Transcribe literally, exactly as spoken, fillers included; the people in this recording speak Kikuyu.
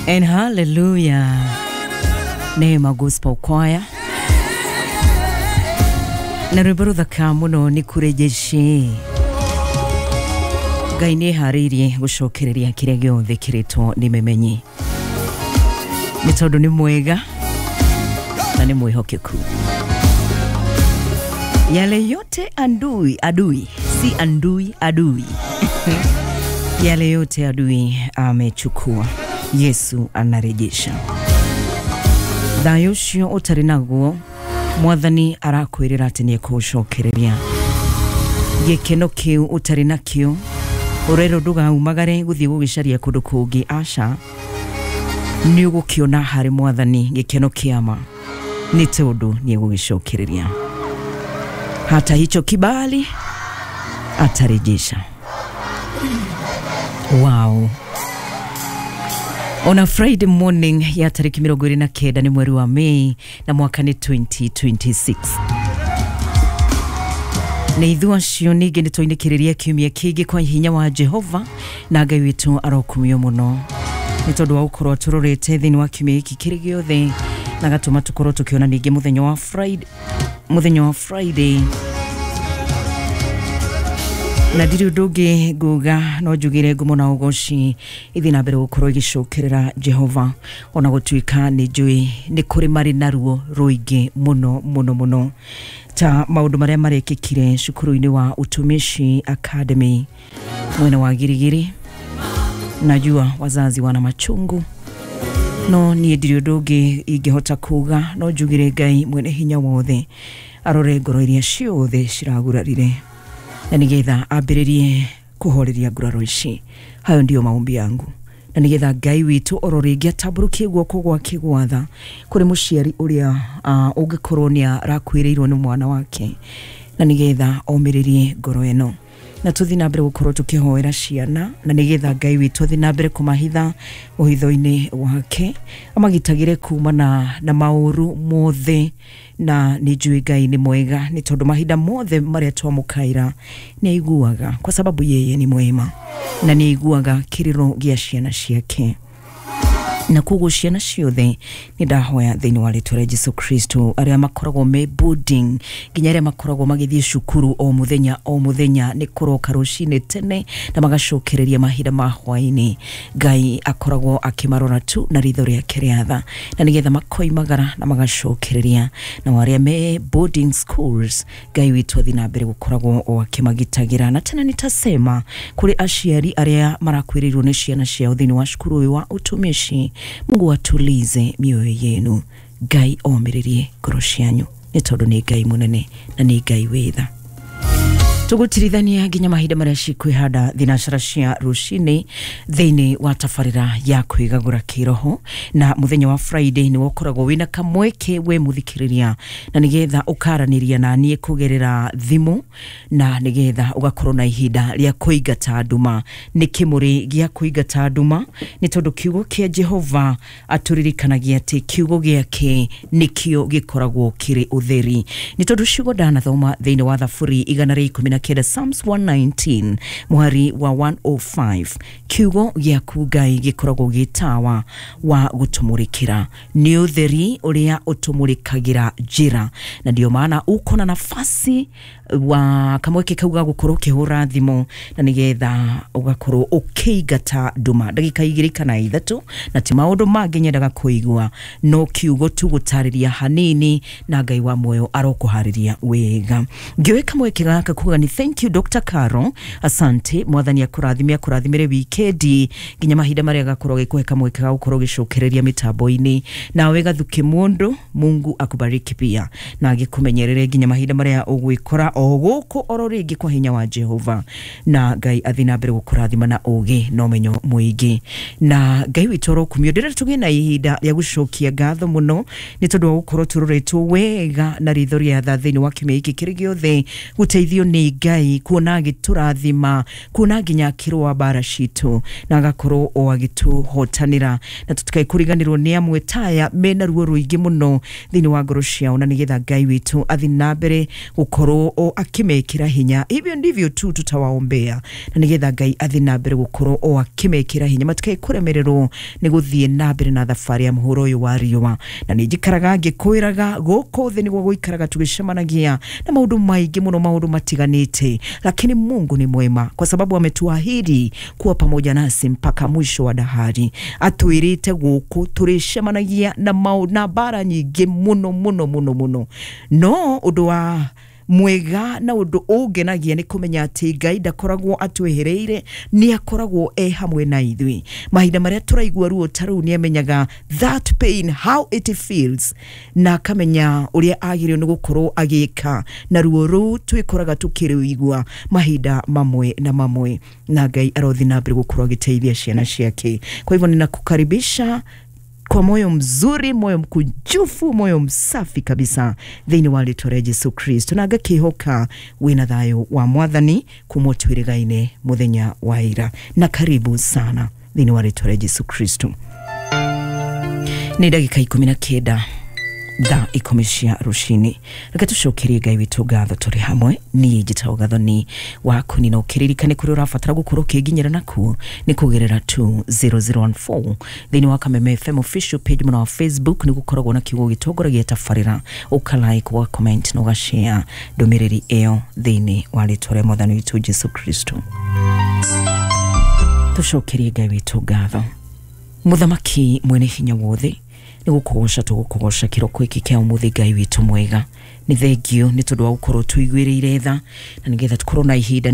And hallelujah. Neema Gospel Choir. Na rwĩmbo rũthaka mũno nĩ kũrejeshe. Ngai nĩ eharĩirie gũcokereria kĩrĩa gĩothe kĩrĩtwo nĩ memenyi. Nĩ tondũ nĩ mwega na nĩ mwĩhokeku. Yale yote andui, adui, si andui, adui. Yale yote adui amechukua, Yesu anarejesha. Thayũ ũcio ũtarĩ naguo, Mwathani arakwĩrĩra atĩ nĩekũũcokereria. Gĩkeno kĩu ũtarĩ nakĩo, ũrerwo ndũgaumagare gũthiĩ gũgĩcaria kũndũ kũngĩ, aca. Nĩ ũgũkĩona harĩ Mwathani gĩkeno kĩa ma, nĩ tondũ nĩegũgĩcokereria. Hata hicho kibali atarejesha. Wow. On a Friday morning ya tariki mĩrongo ĩrĩ na kenda nĩ mweri wa Mei na mwaka nĩ twenty twenty-six. Nĩ ithuĩ acio ningĩ nĩ twainĩkĩrĩria kiumia kĩngĩ kwa hinya wa Jehova na Ngai witũ arokumio mũno nĩ tondũ wa gũkorwo atũrorete thĩinĩ wa kiumia gĩkĩ kĩrĩ gĩothe na gatũma tũkorwo tũkĩona ningĩ mũthenya wa Friday, mũthenya wa Friday. Na ndirĩ ũndũ ũngĩ nguga no njugire ngumo na ũgoci ithiĩ na mbere gũkorwo igĩcokerera Jehova, ona gũtuĩka nĩ njũĩ nĩ kũrĩ marĩ na ruo rũingĩ mũno mũno mũno, ta maũndũ marĩa marekĩkire cukuru-inĩ wa Utumishi Academy mwena wa Girigiri. Najua wazazi wana machungu, no niĩ ndirĩ ũndũ ũngĩ ingĩhota kuga no njugire Ngai mwene hinya wothe arore ngoro iria ciothe ciragurarire na nigetha ambĩrĩrie kũhoreria nguraro ici. Hayo ndio maombi yangu, na nigetha Ngai witũ oro rĩngĩ atambũrũkie guoko gwake gwatha kũrĩ mũciari ũrĩa uh, ũngĩkorwo nĩ arakuĩrĩirwo nĩ mwana wake, na nigetha omĩrĩrie ngoro ĩno, na tũthiĩ na mbere gũkorwo tũkĩhoera ciana, na nigetha Ngai witũ athiĩ na mbere kũmahitha ũhitho-inĩ wake, amagitagĩre kumana na maũru mothe. Na nĩ njũĩ Ngai nĩ mwega nĩ tondũ mahinda mothe marĩa twamũkaĩra nĩ aiguaga, kwa sababu yeye ni mwema na nĩ aiguaga kĩrĩro gĩa ciana ciake. Na koguo ciana ciothe nĩ ndahoya thĩinĩ wa rĩtwa rĩa Jesu Kristo, arĩa makoragwo me boarding nginya arĩa makoragwo magĩthiĩ cukuru o mũthenya o mũthenya nĩ kũroka rũcinĩ tene na magacokereria mahinda ma hwaĩ-inĩ, Ngai akoragwo akĩmarora tu na ritho rĩake rĩa tha, na nĩgetha makoimagara na magacokereria. Na arĩa me boarding schools, Ngai witũ athiĩ na mbere gũkoragwo o akĩmagitagĩra. Na tena nitasema kũrĩ aciari arĩa marakuĩrĩirwo nĩ ciana ciao thĩinĩ wa cukuru ũyũ wa Utumishi, Mungu atulize mioyo yenu, Ngai omĩrĩrie ngoro cianyu nĩ tondũ nĩ Ngai mũnene na nĩ Ngai wĩ tha. Tũgũtirithania nginya mahinda marĩa cikwĩhanda thinacara cia rũcinĩ thĩinĩ wa tabarĩra ya kwĩgagũra kĩroho. Na mũthenya wa Friday nĩ ũkoragwo wĩna kamweke we mũthikĩrĩria, na nĩgetha ũkaranĩria na niĩ kũgerera thimũ, na nĩgetha ũgakorwo na ihinda rĩa kũingata nduma. Nĩ kĩmũrĩ gĩa kũingata nduma, nĩ tondũ kiugo kĩa Jehova atũririkanagia atĩ kiugo gĩake nĩkĩo gĩkoragwo kĩrĩ ũtheri. Nĩ tondũ ciugo ndanathoma thĩinĩ wa Thaburi igana rĩa ikũmi na kenda, Psalms one nineteen muhari wa one oh five, kiugo gĩaku Ngai gĩkoragwo gĩ tawa wa gũtũmũrĩkĩra, nĩ ũtheri ũrĩa ũtũmũrĩkagĩra njĩra. Na ndio maana uko na nafasi wa kamweke kau ga gũkorwo ũkĩhũra thimũ, na nĩgetha ũgakorwo ũkĩingata nduma ndagĩka igĩrĩ kana ithatũ, na ti maũndũ mangĩ nyendaga kũigua, no kiugo tu gũtarĩria hanini, na Ngai wa muoyo arokũharĩria wega. Ngĩoe kamweke gaka kuga ni thank you Doctor Caro, asante. Mwathani akũrathime, akũrathimĩre wikendi nginya mahinda marĩa gakorwo gĩkũhe kamweke ga gũkorwo gĩcokereria mĩtambo-inĩ. Nawe Gathuki Mũndũ, Mungu akubariki pia na agĩkũmenyerere nginya mahinda marĩa ũgwĩkora o gũkũ oro rĩngĩ kwa hinya wa Jehova, na Ngai athiĩ na mbere gũkũrathima na ũgĩ na ũmenyo mũingĩ. Na Ngai witũ arokumio. Ndĩrenda tũgĩe na ihinda rĩa gũcokia ngatho mũno nĩ tondũ wa gũkorwo tũroretwo wega na ritho rĩa tha thĩinĩ wa kiumia gĩkĩ kĩrĩ gĩothe, gũteithio nĩ Ngai kuona agĩtũrathima, kuona nginya akĩrũa mbara citũ na agakorwo o agĩtũhotanĩra, na tũtikae kũriganĩrwo nĩ amwe taya mena ruo rũingĩ mũno thĩinĩ wa ngoro ciao, na nĩgetha Ngai witũ athiĩ na mbere gũkorwo o akĩmekĩra hinya. Hivyo ndivyo tu tutawaombea, na nĩgetha Ngai athiĩ na mbere gũkorwo o akĩmekĩra hinya matikae kũremererwo nĩ gũthiĩ na mbere na thabarĩ ya mũhũro ũyũ wa riũa. Na nĩ njikaraga ngĩkwĩraga gũkũ thĩ nĩguo gũikaraga tũgĩcemanagia na maũndũ maingĩ mũno, maũndũ matiganĩte, lakini Mungu ni mwema kwa sababu ametuahidi kuwa pamoja nasi mpaka mwisho wa dahari. Atwĩrĩte gũkũ tũrĩcemanagia na mau na mbara nyingĩ mũno mũno mũno mũno, no ũndũ wa mwega na ũndũ ũngenagia nĩ kũmenya atĩ Ngai ndakoragwo atwehereire, nĩ akoragwo e hamwe na ithuĩ mahinda marĩa tũraigua ruo ta rũu. Nĩ amenyaga that pain, how it feels, na akamenya ũrĩa agĩrĩirwo nĩ gũkorwo agĩka na ruo rũu twĩkoraga tũkĩrũigua mahinda mamwe na mamwe, na Ngai arothi na mbere gũkorwo agĩteithia ciana ciake. Kwa hivyo ninakukaribisha kwa moyo mzuri, moyo mkunjufu, moyo msafi kabisa thĩinĩ wa rĩtwa rĩa Jesu Kristo, na ngakĩhoka wĩna thayũ wa Mwathani kuma twĩrĩgaine mũthenya wa ira, na karibu sana thĩinĩ wa rĩtwa rĩa Jesu Kristo. Nĩ ndagĩka ikũmi na kenda thaa ikũmi cia rũcinĩ. Reke tũcokerie Ngai witũ ngatho tũrĩ hamwe. Niĩ njĩtagwo Gathoni waku na ũkĩririkane kũrĩa ũrabatara gũkorwo ũkĩnginyĩra nakuo nĩ kũgerera two zero zero one four thĩinĩ wa Kameme F M official page mwena wa Facebook. Nĩ gũkoragwo na kiugo gĩtongoragia tabarĩra, ũka like, ũga comment na ũgashare ndũmĩrĩri ĩyo thĩinĩ wa rĩtwa rĩa Mwathani witũ Jesu Kristo. Tũcokerie Ngai witũ ngatho. Mũthamaki mwene hinya wothe, nĩ gũkũgoca tũgũkũgoca kĩroko gĩkĩ kĩa ũmũthĩ. Ngai witũ mwega, nĩ thengio nĩ tondũ wa gũkorwo tũiguĩrĩire tha na nĩgetha tũkorwo na ihinda.